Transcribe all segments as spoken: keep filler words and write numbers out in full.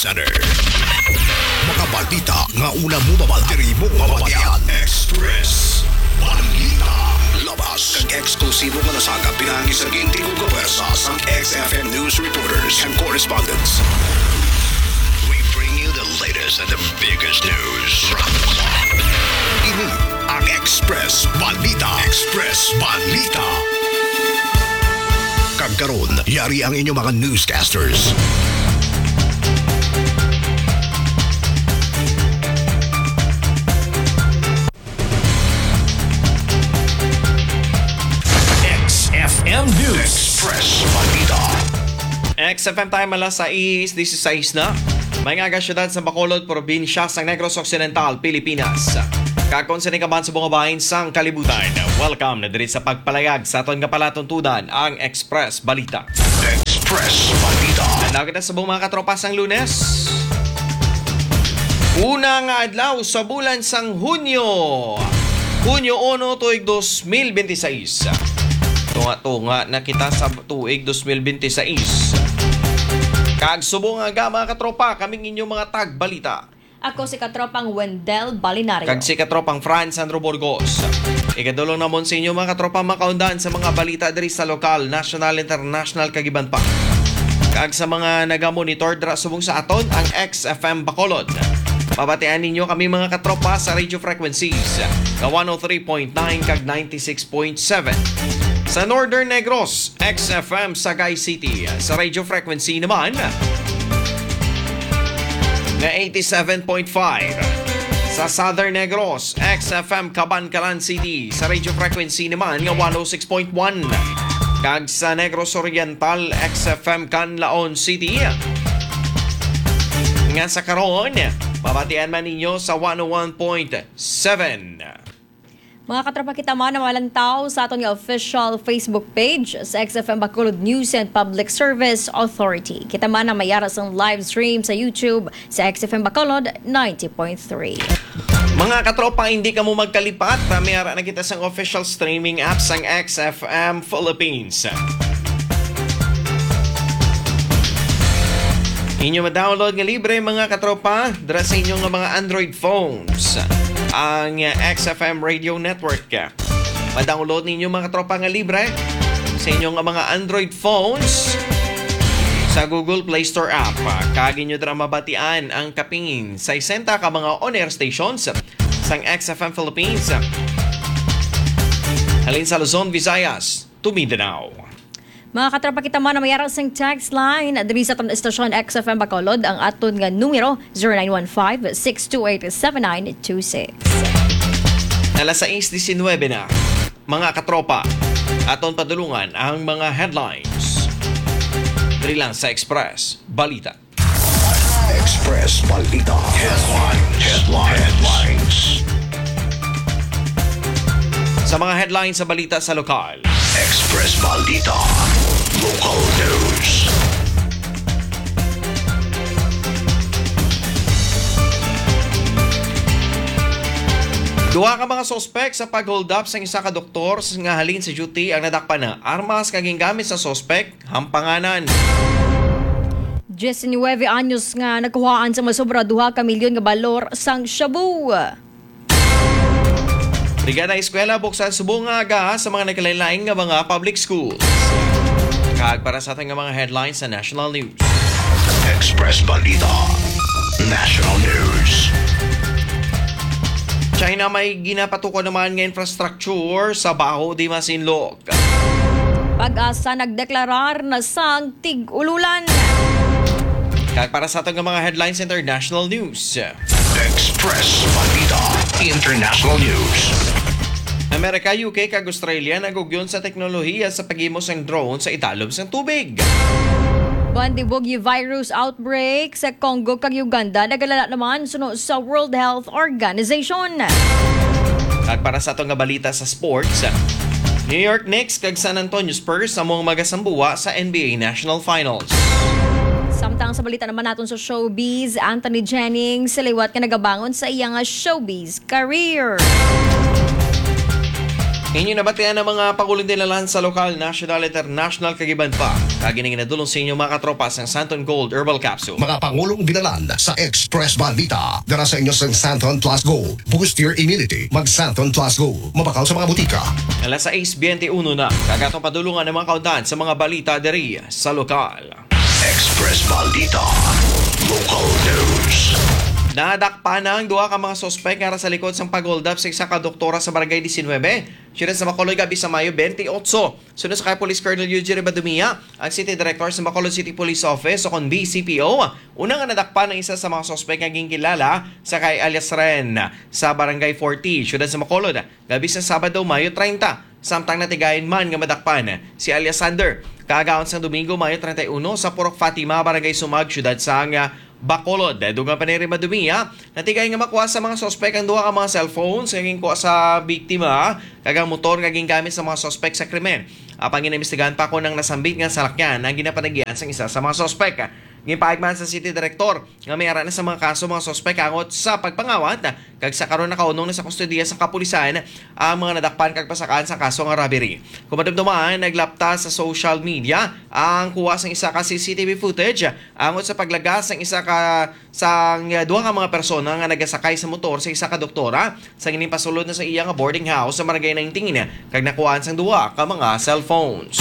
Center. Mga balita nga una mo mabal-, diri mo mabatian. Express Balita. Labas kag eksklusibo nga nasagap pinangi sa gintigo nga pwersa sang X F M news reporters and correspondents. We bring you the latest and the biggest news from the clock. Ini ang Express Balita. Express Balita. Kag karon, yari ang inyong mga newscasters. X F M News. Express Balita. X F M time, alas sais dieciséis na. May nga aga, siyudad sa Bacolod, probinsya sa Negros Occidental, Pilipinas. Kag kon sini ka man sa mga bahin sang kalibutan, welcome na diri sa pagpalayag sa aton nga palatuntunan, ang Express Balita. Express Balita. Adlaw kita sa buong mga katropa sang Lunes. Una nga adlaw sa bulan sang Hunyo. Hunyo uno, tuig dos mil benti sais. Tunga-tunga na kita sa tuig dos mil benti sais. Kag subong nga, mga katropa, kaming inyo mga tagbalita. Ako si katropang Wendell Balinario. Kag si katropang Franz Sandro Burgos. Igadulong namon sa inyo, mga katropa, makaundan sa mga balita diri sa lokal, national, international, kag iban pa. Kag sa mga nagamonitor dira subong sa aton, ang X F M Bacolod. Mabatian ninyo kami, mga katropa, sa radio frequencies nga one oh three point nine kag ninety-six point seven. Sa Northern Negros, X F M Sagay City. Sa radio frequency naman, nga eighty-seven point five. Sa Southern Negros, X F M Kabankalan City. Sa radio frequency naman nga one oh six point one. Kag sa Negros Oriental, X F M Canlaon City. Nga sa karon, mabatian man ninyo sa one oh one point seven. Mga katropa, kita man ang malantaw sa aton nga official Facebook page sa X F M Bacolod News and Public Service Authority. Kita man ang mayara sang live stream sa YouTube sa X F M Bacolod ninety point three. Mga katropa, hindi kamo magkalipat, na mayara na kita sang official streaming app sang X F M Philippines. Inyo ma-download nga libre, mga katropa, dira sa inyo nga mga Android phones, ang X F M Radio Network. Ma-download ninyo, mga katropa, nga libre sa inyo nga mga Android phones sa Google Play Store app. Kag inyo dira mabatian ang kapin sesenta ka mga on-air stations sang X F M Philippines, halin sa Luzon, Visayas, to Mindanao. Mga katropa, kita man ang mayara sing text line diri sa aton estasyon X F M Bacolod, ang aton nga numero, zero nine one five, six two eight, seven nine two six. Alas sais diecinuebe na. Mga katropa, aton padulungan ang mga headlines diri lang sa Express Balita. Express Balita Headlines. Headlines. Headlines. Sa mga headlines sa balita sa lokal. Express Balita Local News. Duha ka mga suspek sa pag-hold up sang isa ka doktor nga halin sa duty ang nadakpan na armas nga gingamit sa suspek. Hampanganan. Diecinuebe anyos nga nakuhaan sa masobra duha ka milyon nga balor sang shabu. Brigada Eskwela buksan subong nga aga sa mga nagkalain-lain nga mga public schools. Kag para sa aton nga mga headlines sa national news. Express Balita National News. China may ginapatukod naman nga infrastructure sa Baho de Masinloc. PAGASA nagdeklarar na sang tig-ululan. Kag para sa aton nga mga headlines, international news. Express Balita International News. Amerika, U K, kag Australia nagugyon sa teknolohiya sa paghimo sang drone sa idalom sang tubig. Bundibugyo virus outbreak sa Congo kag Uganda nagalala naman suno sa World Health Organization. Kag para sa ato nga balita sa sports, New York Knicks kag San Antonio Spurs amo ang magasambuwa sa N B A National Finals. Samtang sa balita naman naton sa showbiz, Anthony Jennings liwat nga nagabangon sa iya nga showbiz career. Inyo nabatian ang mga pangulong dinalan sa lokal, national, international, kag iban pa. Kag ini ginadulong sa inyo, mga katropa, sang Santon Gold Herbal Capsule. Mga pangulong dinalan sa Express Balita. Dala sa inyo sang Santon Plus Go. Boost your immunity. Mag Santon Plus Go. Mabakal sa mga butika. Alas sais biyente uno na. Kag atong padulungan ang mga kauntahan sa mga balita diri sa lokal. Express Balita. Local News. Nadakpan na ang duha ka mga suspek nga ara sa likod sang pag-hold up sa isa ka doktora sa Barangay disinwebe, siyudad sa Bacolod, gab-i sa Mayo twenty-eight. Suno sa kay Police Colonel Eugene Ribadumia, ang City Director sa Bacolod City Police Office o kon B C P O, una nga nadakpan ang isa sa mga suspek nga ginkilala sa kay alias Ren sa Barangay forty, siyudad sa Bacolod, gab-i sa Sabado, Mayo treinta, samtang natigayon man nga madakpan si alias Sander kaagahon sang Domingo, Mayo treinta y uno, sa Purok Fatima, Barangay Sumag, siyudad sang, ah, Bacolod. Dugang pa ni Ribadumia, natigayon nga makuha sa mga suspek ang duha ka mga cellphones nga ginkuha sa biktima kag ang motor nga gingamit sa mga suspek sa krimen. Apang ginaimbestigahan pa kon ang nasambit nga salakyan ang ginapanagian sang isa sa mga suspek. Ginpahayag man sa City Director nga may ara na sa mga kaso mga suspek angot sa pagpangawat, kag sa karon nakaunong na sa kustodiya sa kapulisan ang mga nadakpan kag pasakaan sa kaso nga robbery. Kung madumduman, naglapta sa social media ang kuha sang isa ka C C T V footage angot sa paglagas sang isa ka sang, uh, duha ka mga persona nga nagasakay sa motor sa isa ka doktora sang ining pasulod na sa iya nga boarding house sa Barangay nineteen, kag nakuhaan sang duha ka mga cellphones.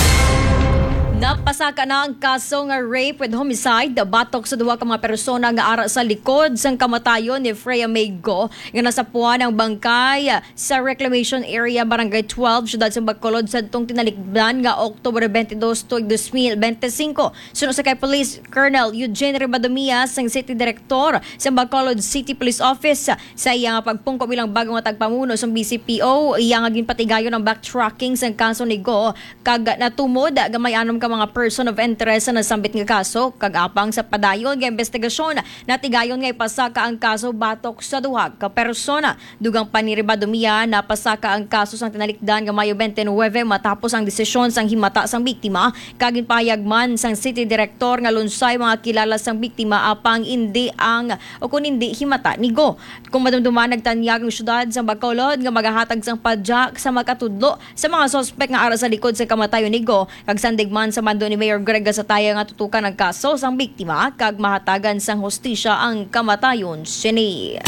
Napasaka na ang kaso nga rape with homicide batok sa duha ka mga persona nga ara sa likod sang kamatayon ni Freya May Go, nga nasapuan ang bangkay sa Reclamation Area, Barangay twelve, siyudad sa Bacolod, sadtong tinalikdan nga October twenty-two tuig dos mil bente-singko. Suno sa kay Police Colonel Eugene Ribadumia, sang City Director sa Bacolod City Police Office, sa iya nga pagpungko bilang bago nga tagpamuno sang B C P O, iya nga ginpatigayon ang backtracking sang kaso ni Go, kag natumod nga may anom ka mga person of interest sa nasambit nga kaso, kag apang sa padayon nga investigasyon, natigayon nga ipasaka ang kaso batok sa duha ka persona. Dugang pa ni Ribadumia, napasaka ang kaso sang tinalikdan nga Mayo twenty-nine matapos ang desisyon sang himata sang biktima, kag ginpahayag man sang City Director nga lunsay mga kilala sang biktima apang indi ang o kon indi himata ni Go. Kung madumduman, nagtanyag ang siyudad sa Bacolod nga magahatag sang padyak sa makatudlo sa mga suspek nga ara sa likod sa kamatayon ni Go, kag sandig man sa mando ni Mayor Greg Gasataya nga tutukan ang kaso sang biktima kag mahatagan sang hustisya ang kamatayon sini.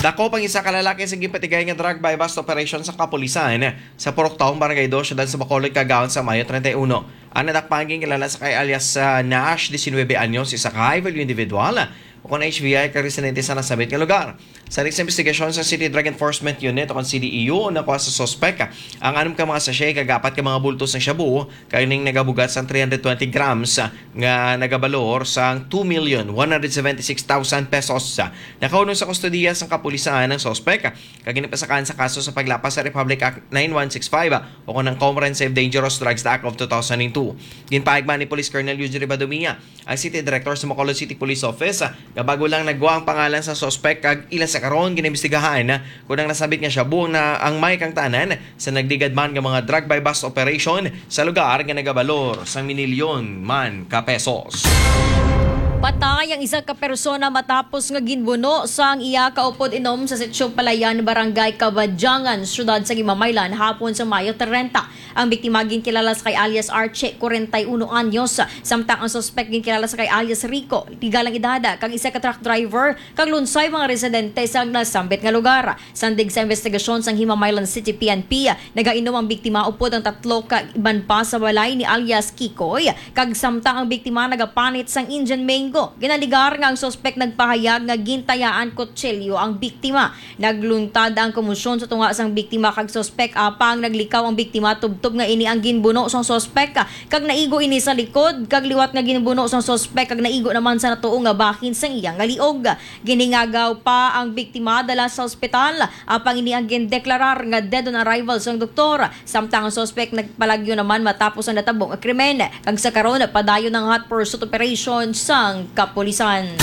Dakop ang isa ka lalaki sa ginpatigay nga drug buy-bust operation sa kapulisan sa Purok Taong, Barangay dos, siyudad sa Bacolod, kaagahon sa Mayo treinta y uno. Ang nadakpan ginkilala sa kay alias, ah, Nash, diecinuebe anyos, isa ka high-value individual, o kon H V I, ka residente sa nasambit nga lugar. Sa next investigasyon sa City Drug Enforcement Unit o kon C D E U, nakuha sa suspek ang anom ka mga sachet kag apat ka mga bulto sang shabu, kag ining nagabugat sang three hundred twenty grams nga nagabalor sang two million one hundred seventy-six thousand pesos. Nakaunong sa kustodiya sang kapulisan ang suspek, kag ginpasakaan sa kaso sa paglapas sa Republic Act nine one six five o kon ang Comprehensive Dangerous Drugs Act of two thousand and two. Ginpahayag man ni Police Colonel Eugene Ribadumia, ang City Director sa Bacolod City Police Office, ah, nga bago lang nagwa ang pangalan sa suspek kag ila sa karon ginaimbestigahan, ah, kung ang nasambit nga shabu na ang may kangtanan sa nagligad man nga mga drug buy-bust operation sa lugar nga nagabalor sang minilyon man ka pesos. Patay ang isa ka persona matapos nga ginbuno sang iya kaupod inom sa Sitio Palayan, Barangay Kabadyangan, siyudad sa Himamaylan, hapon sa Mayo treinta. Ang biktima ginkilala sa kay alias Archie, kwarenta y uno anyos, samtang ang suspek ginkilala sa kay alias Rico, legal ang edad, kag isa ka truck driver kag lunsay mga residente sa nasambit nga lugar. Sandig sa investigasyon sang Himamaylan City P N P, nagainom ang biktima upod ang tatlo ka iban pa sa balay ni alias Kikoy, kag samtang ang biktima nagapanit sang Indian mango, ginaligar nga ang suspek nagpahayag nga gintayaan kutsilyo ang biktima. Nagluntad ang komosyon sa tunga sang biktima kag suspek, apang naglikaw ang biktima tubtob nga ini ang ginbuno sang suspek, kag naigo ini sa likod, kag liwat nga ginbuno sang suspek kag naigo naman sa natuo nga bahin sang iya nga liog. Ginhingagaw pa ang biktima dala sa ospital, apang ini ang gindeklarar nga dead on arrival sang doktor. Samtang ang suspek nagpalagyo naman matapos ang natabo nga krimen, kag sa karon padayon ang hot pursuit operation sang kapulisan.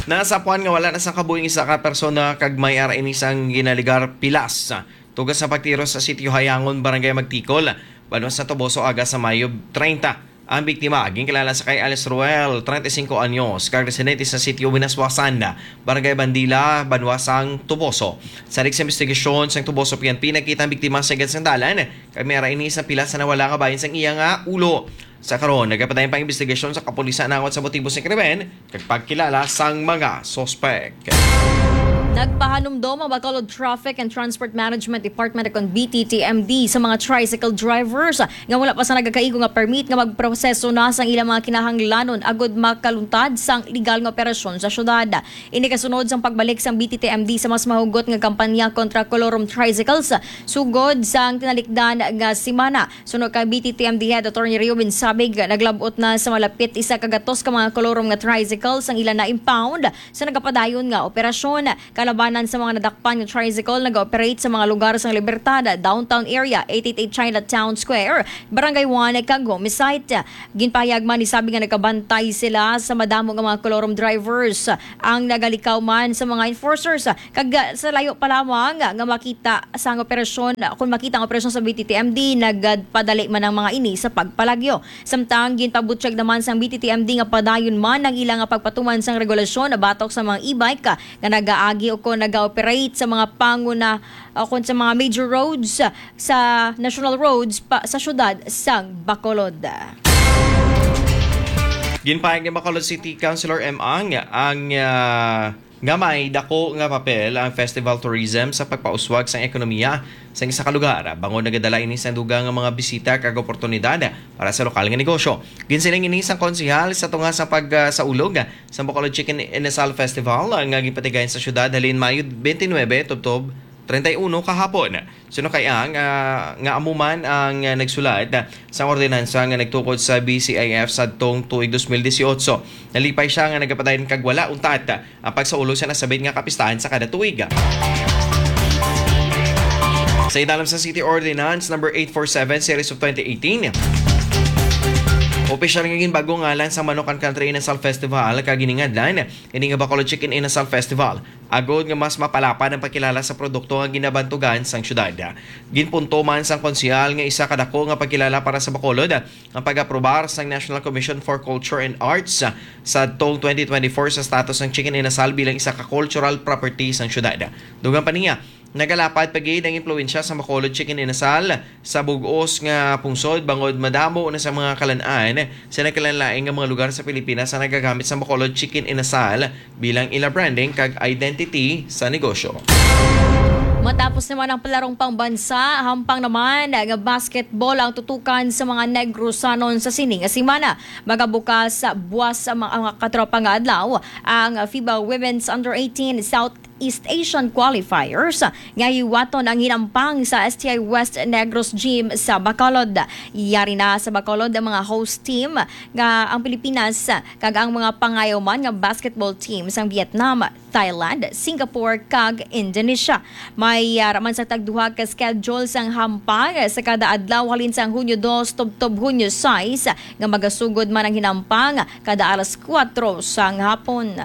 Nasapuan nga wala na sang kabuhi ang isa ka persona kag may ara ini sang ginaligar pilas. Tuga sa pagtiro sa Sitio Hayangon, Barangay Magtikol, banwa sa Toboso, aga sa Mayo treinta. Ang biktima ginkilala sa kay Alice Ruel, treinta y cinco anyos, kag residente sa sitio Binaswasan, Barangay Bandila, Banwasang, Toboso. Sa sa investigasyon sang Toboso P N P, nakita ang biktima sa igad sang dalan, kag may ara ini sa pila sa nawala nga bahin sang iya nga ulo. Sa karon, nagapadayon pa ang investigasyon sa kapulisan angot sa motibo sa krimen kag pagkilala sang mga suspek. Nagpahanumdom ang Bacolod Traffic and Transport Management Department, kon B T T M D, sa mga tricycle drivers nga wala pa sa nagakaigo nga permit nga magproseso na sang ilang mga kinahanglanon agud makaluntad sang legal nga operasyon sa syudad. Ini kasunod sang pagbalik sang B T T M D sa mas mahugot nga kampanya kontra kolorum tricycles sugod sang tinalikdan nga semana. Suno kay B T T M D Head Attorney Rio Binsabig, naglab-ot na sa malapit isa ka gatos ka mga kolorum nga tricycle sang ila na-impound sa nagapadayon nga operasyon. Kalabanan sa mga nadakpan nga tricycle, nag-operate sa mga lugar sang Libertad, Downtown Area, eight eight eight Chinatown Square, Barangay one, kag Gomez Site. Ginpahayag man ni Sabig nga nagkabantay sila sa madamo nga mga kolorum drivers ang nagalikaw man sa mga enforcers, kag sa layo pa lamang nga makita sang operasyon, kung makita ang operasyon sa B T T M D, nagpadali man ang mga ini sa pagpalagyo. Samtang ginpabutyag naman sang B T T M D nga padayon man ang ila nga pagpatuman sang regulasyon batok sa mga e-bike nga nagaagi o kon naga-operate sa mga panguna o kon sa mga major roads sa national roads pa, sa syudad sang Bacolod. Ginpahayag ni Bacolod City Councilor M. Ang ang ah, nga may dako nga papel ang festival tourism sa pagpauswag sang ekonomiya sa isa ka lugar, bangod nagadala ini sang dugang nga mga bisita kag oportunidad para sa lokal nga negosyo. Ginsiling ini sang konsehal sa tunga sa pag, ah, sa ulog sa Bacolod Chicken Inasal Festival, ah, nga ginpatigayon sa syudad halin Mayo twenty-nine tubtob treinta y uno kahapon. Suno kay ang, ah, nga amo man ang, ah, nagsulat, ah, sa ordinansa nga nagtukod sa B C I F sadtong tuig dos mil disiotso. Nalipay siya nga nagapadayon kag wala untat ang pagsaulog sa nasabit nga kapistahan sa kada tuig. Sa idalom sa City Ordinance number eight four seven series of twenty eighteen, opisyal nga ginbag-o ngalan sa Manukan Country Inasal Festival kag giningadlan ini nga Bacolod Chicken Inasal Festival, agod nga mas mapalapad ang pagkilala sa produkto nga ginabantugan sang syudad. Ginpunto man sang konsehal nga isa ka dako nga pagkilala para sa Bacolod ang pag-aprobar sang National Commission for Culture and Arts sa tong twenty twenty-four sa status sang Chicken Inasal bilang isa ka cultural property sang syudad. Dugang pa niya, nagalapad pa gid ang impluwensya sa Bacolod Chicken Inasal sa bug-os nga pungsod, bangod madamo na sa mga kalan-an sa nagkalainlain nga mga lugar sa Pilipinas ang nagagamit sa Bacolod Chicken Inasal bilang ila branding kag identity sa negosyo. Matapos naman ang palarong pambansa, hampang naman nga basketball ang tutukan sa mga Negrosanon sa sini nga semana. Magabukas sa buwas sa mga, mga katropa nga adlaw ang FIBA Women's Under eighteen Southeast Asian Qualifiers nga hiwaton ang hinampang sa S T I West Negros Gym sa Bacolod. Yari na sa Bacolod ang mga host team nga ang Pilipinas kag ang mga pangayo man nga basketball team sang Vietnam, Thailand, Singapore, kag Indonesia. May, ah, raman sa tagduha ka schedule sang hampang sa kada adlaw halin sang Hunyo dos tubtob Hunyo sais nga magasugod man ang hinampang kada alas kuwatro sang hapon.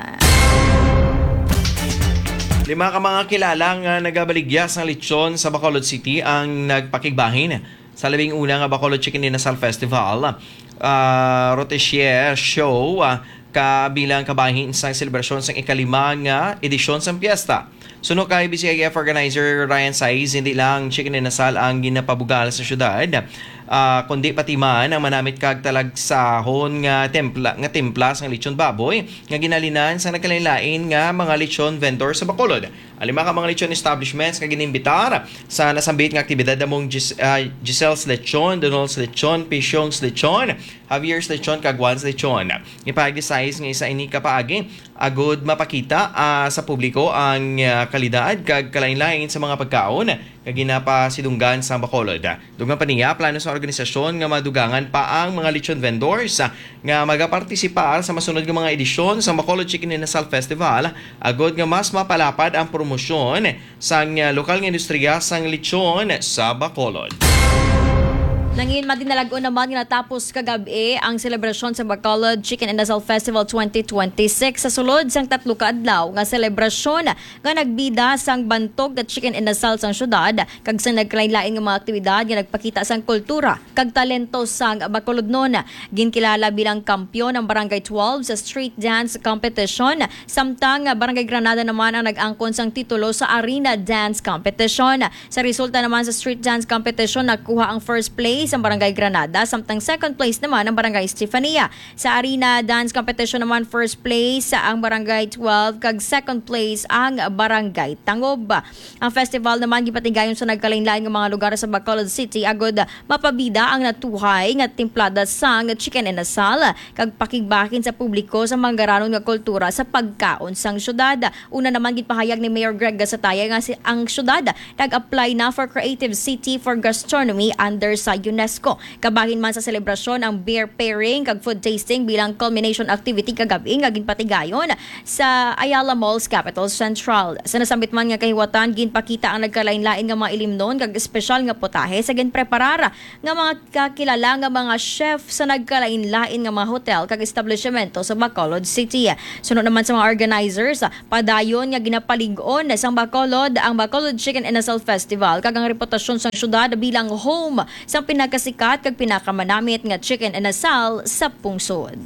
Lima ka mga kilala nga nagabaligya sang lechon sa Bacolod City ang nagpakigbahin sa labing una nga Bacolod Chicken Inasal Festival, ah, Rotisserie Show, ah, kabilang kabahin sang selebrasyon sang ikalima nga edisyon sang piyesta. Suno kay B C I F organizer Ryan Saiz, hindi lang chicken inasal ang ginapabugal sa syudad, ah, kundi pati man ang manamit kag talagsahon nga templa, nga timpla sang lechon baboy nga ginhalinan sa nagkalainlain nga mga lechon vendor sa Bacolod. Ang lima ka mga lechon establishments nga ginimbitar sa nasambit nga aktibidad among Gis-, ah, Giselle's Lechon, Donald's Lechon, Pisyong's Lechon, Javier's Lechon, kag Juan's Lechon. Ipahayag ni Saiz nga isa ini ka paagi agud mapakita, ah, sa publiko ang, ah, kalidad kag kalainlain sa mga pagkaon nga ginapasidunggan sa Bacolod. Dugang pa niya, plano sa organisasyon nga madugangan pa ang mga lechon vendors, ah, nga magapartisipar sa masunod nga mga edisyon sa Bacolod Chicken Inasal Festival, agud nga mas mapalapad ang promosyon sang, ah, lokal nga industriya sang lechon sa Bacolod. Nangin madinalagon naman nga natapos kagabi ang selebrasyon sa Bacolod Chicken and Asal Festival twenty twenty-six sa sulod sang tatlo ka adlaw nga selebrasyon nga nagbida sang bantog nga chicken and asal sang syudad kag sa nagkalain-lain nga mga aktibidad nga nagpakita sang kultura kag talento sang Bacolodnon. Ginkilala bilang kampiyon ang Barangay twelve sa street dance competition, samtang Barangay Granada naman ang nag-angkon sang titulo sa arena dance competition. Sa resulta naman sa street dance competition, nakuha ang first place ang Barangay Granada, samtang second place naman ang Barangay Estefania. Sa arena dance competition naman, first place ang Barangay twelve kag second place ang Barangay Tangob. Ang festival naman gipatigayon sa nagkalain-lain nga mga lugar sa Bacolod City agud mapabida ang natuhay nga timplada sang chicken and asal kag pakigbahin sa publiko sa manggaranon nga kultura sa pagkaon sang syudad. Una naman, ginpahayag ni Mayor Greg Gasataya nga si, ang syudad nag-apply na for Creative City for Gastronomy under sa UNESCO. Kabahin man sa selebrasyon ang beer pairing kag food tasting bilang culmination activity kagabi nga ginpatigayon sa Ayala Malls, Capital Central. Sa nasambit man nga kahiwatan, ginpakita ang nagkalain-lain nga mga ilimnon kag espesyal nga putahe sa ginpreparar nga mga kakilala nga mga chef sa nagkalain-lain nga mga hotel kag establishmento sa Bacolod City. Suno naman sa mga organizers, padayon nga ginapalig-on sang Bacolod ang Bacolod Chicken and Asal Festival kag ang reputasyon sang syudad bilang home sang pinakasikat kag pinakamanamit nga chicken and asal sa pungsod.